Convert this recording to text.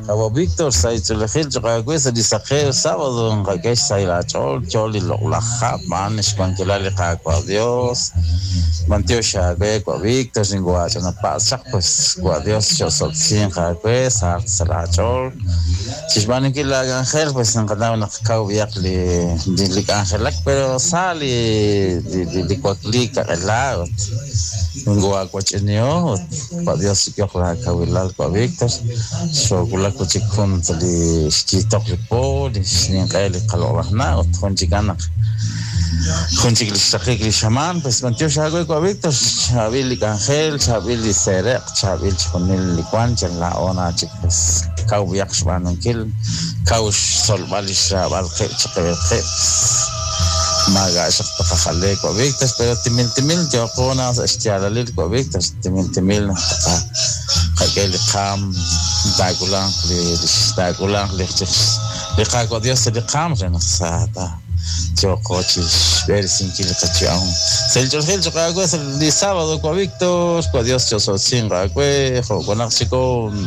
Qawa' Víctor, sahil ch'oolejil cho'q aawe sa' li saqew sábado nqak'e xsahil aach'ool yo li loq'laj hab' a'an xwankilal li Qaawa' Dios. B'antiox aawe wa' Víctor xinwaach'anapatz' chaq pues wa' Dios cho'osob'tesinq aawe sahaq sa' laach'ool. Chi xb'aanunkil laak'anjel pues nqanaw naq kaw b'ayaq li li k'anjelak pero sa li li wakliik kaq'ela ut ninwaawach'inihom ut Wa' Dios chik'ehoq laakawilal wa' Víctor. Xoowulak wi' chik jun sa' li xyiitoq li po, li xninq'e li qaloq'laj na' ut jun chikan naq jun chik li xraqik li xamaan. Pues b'antiox aawe wa' Víctor, chaab'il li k'anjel, chaab'il li seeraq', chaab'il chixjunil li wank, yal laa'o na chik pues kaw b'ayaq xb'aanunkil, kaw xtzolb'al li xraab'al qib' chiqib'il qib'. Maak'a' xaq taqajale wa' Víctor, pero timil timil yooqo na sa' xyaalalil wa' Víctor, timil timil naq taqak'e li qaam, taak'ulanq li taak'ulanq li li Qaawa' Dios sa' li qaam re naq sa ta yooqo chi xb'eresinkil li qayu'am. Sa' li ch'oolejil cho'q aawe sa' li sábado wa' Víctor, wa' Dios cho'osob'tesinq aawe, jo' wanaq chikon.